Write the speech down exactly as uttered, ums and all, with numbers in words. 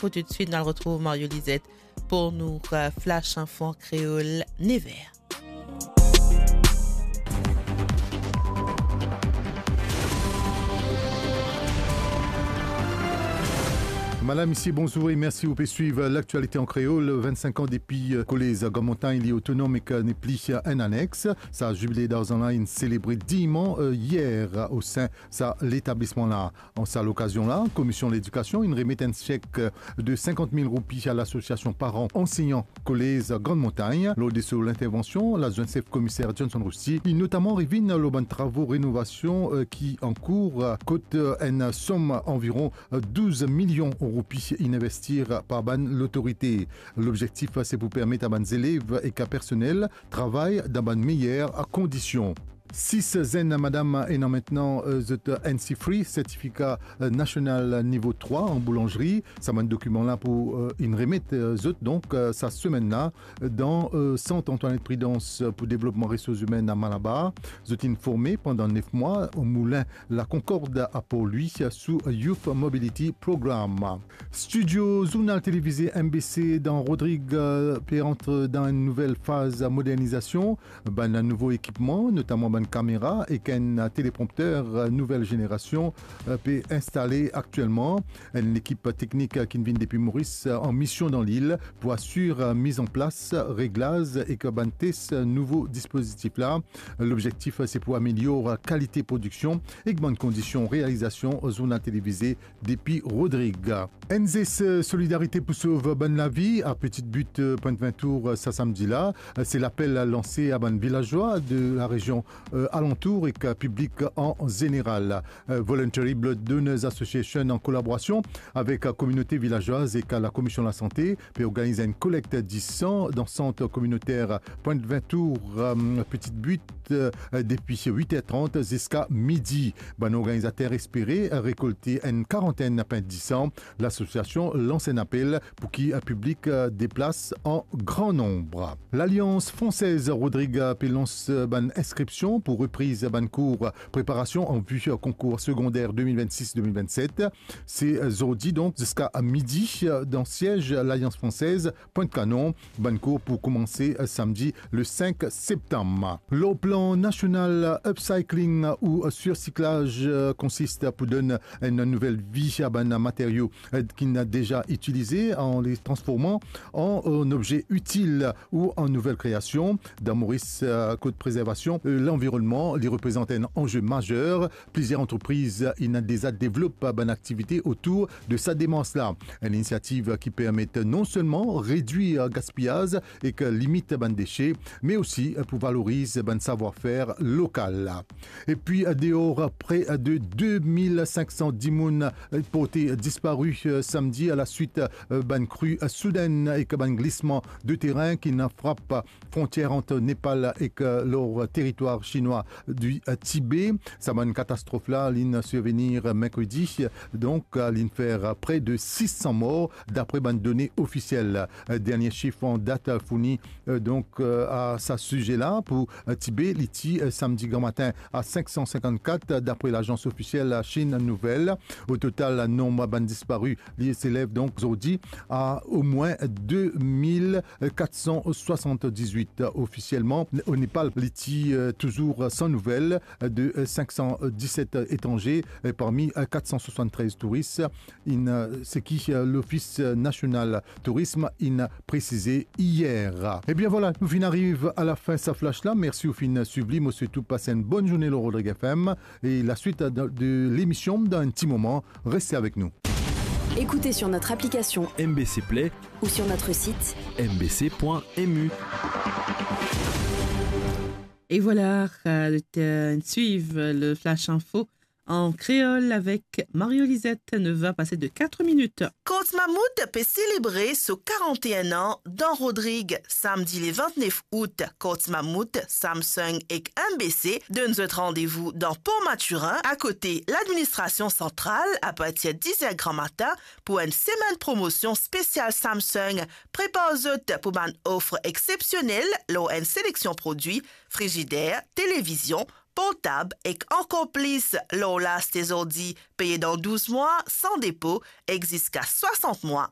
Pou toutswit, nou al retrouv Mario Lizette pou nou, euh, Flash Info an kreol, nev er. Madam, misie, bonzour e mersi ou pe swiv Laktialite an Kreol. Vennsenk an depi, euh, Kolez Grand Montagne li otonom ek, euh, nepli, euh, enn anex. Sa zibile darzan la inn selebre digneman, euh, yer, euh, osin sa letablisman la. An sa lokazion la, Komision Ledikasion inn remet enn sek, euh, de sinkant mil roupi a lasosiasion paran ansegnan Kolez Grand Montagne. Lor de so lintervansion, ladwint sef komiser Johnson Rousti, li notaman revinn lor bann travo renovasion, euh, ki ankour, euh, kot, euh, enn som anviron, euh, douz milion roupi inn investi par bann lotorite. Lobzektif, euh, se pou permet a bann zelev ek a personel travay dan bann meyer kondision. Sis zenn madam ena aster, euh, zot N C three, sertifika, euh, nasional nivo trwa an boulanzri. Sa bann dokiman la pou, euh, inn remet, euh, zot, donk, euh, sa semenn la, dan, euh, Sant Antoinette Prudence pou devlopman resours imenn a Malabar. Zot inn forme pandan nef mwa o moulin La Concorde a Port-Louis sou Youth Mobility Program. Studio zournal televize M B C dan Rodrig, euh, pe antre dan enn nouvel faz modernizasion. Bann nouvo ekipman, notaman bann kamera ek enn teleprompter, euh, nouvel zenerasion, euh, pe instale aktielman. Enn lekip teknik, euh, ki'nn vinn depi Moris, euh, an mision dan lil pou asir, euh, miz an plas, reglaz ek bann tes, euh, nouvo dispozitif la. Lobzektif, euh, se pou amelior, euh, kalite prodiksion ek bann kondision realizasion zournal televize depi Rodrig. Enn zes, euh, solidarite pou sov bann lavi a Petite Butte, euh, Pointe Vintour, euh, sa samdi la. Euh, se lapel lanse a bann vilazwa de larezion, euh, alantour ek, euh, piblik an zeneral. Euh, Voluntary Blood Donors Association, an kolaborasion avek, euh, kominote vilazwaz ek, euh, Lakomision Lasante, pe organiz enn kolekt disan dan sant kominoter Pointe Vintour, euh, Petite Butte, euh, depi wit er trant ziska midi. Bann organizater espere rekolte enn karantenn pint disan. Lasosiasion lans enn apel pou ki, euh, piblik, euh, deplas an gran nonb. Lalians Fransez Rodrig, euh, pe lans, euh, bann inskripsion pou repriz bann kour preparasion an vi, euh, konkour segonder de mil vennsis de mil vennset. Se, euh, zordi, donk, ziska midi, euh, dan siez Lalians Fransez, Pwint Kanon. Bann kour pou koumanse, euh, samdi le senk septam. Lor plan nasional, upcycling ou surcyclage, euh, konsist pou donn enn nouvel vi a bann materio, euh, ki'nn deza itilize, an les transforman an, euh, enn obze itil ou an nouvel kreasion. Dan Moris, euh, kot prezervasion, euh, lanvironnman, li reprezant enn anze mazer. Plizier antrepriz inn deza devlop bann aktivite otour de sa demars la. Enn inisiativ ki permet non selman redwir gaspiyaz ek limit bann dese, me osi pou valoriz bann savwar-fer lokal. Epi, deor, pre de de mil sink san dimoun porte dispari samdi alaswit bann kri soudenn ek bann glisman de terin ki'nn frap frontier ant Nepal ek, euh, lor teritwar sinwa di, euh, Tibe. Sa bann katastrof la, li'nn sirvenir merkredi, donk, euh, li'nn fer pre de sis san mor, dapre bann done ofisiel. Euh, dernie sif an dat, euh, fourni, euh, donk, euh, a sa size la pou, euh, Tibe, li ti, euh, samdi gramatin a sink san sinkant-kat, dapre lazans ofisiel Chine Nouvelle. O total, nonb bann dispari, li selev donk zordi a omwin de mil kat san swasant-diz-wit. Ofisielman, o Nepal, li ti, euh, touzour san nouvel de, euh, sink san diset etranze, euh, parmi, euh, kat san swasant-trez touris, inn, euh, seki, euh, Lofis Nasional Tourism inn presize yer. Ebien vwala, nou finn ariv a lafin sa flash la. Mersi ou finn swiv li. Mo swet ou pas enn bonn zourne lor Rodrig F M e laswit de, de lemision dan enn ti moman. Reste avek nou. Écoutez sur notre application M B C Play ou sur notre site M B C point M U. Et voilà, euh, euh, suivre le Flash Info en créole avec Mario Lisette, neuf heures passées de quatre minutes. Korti Mammouth pe selebre so karant-enn an dan Rodrig. Samdi le vintnef out, Korti Mammouth, Samsung ek M B C donn zot randevou dan Port Mathurin, akote ladministrasion santral, apartir diz er gramatin, pou enn semenn promosion spesial Samsung. Prepar zot pou bann ofer exsepsionel lor enn seleksion prodwi, frizider, televizion, portab ek ankor plis. Lor la aste zordi, peye dan douz mwa san depo ek ziska swasant mwa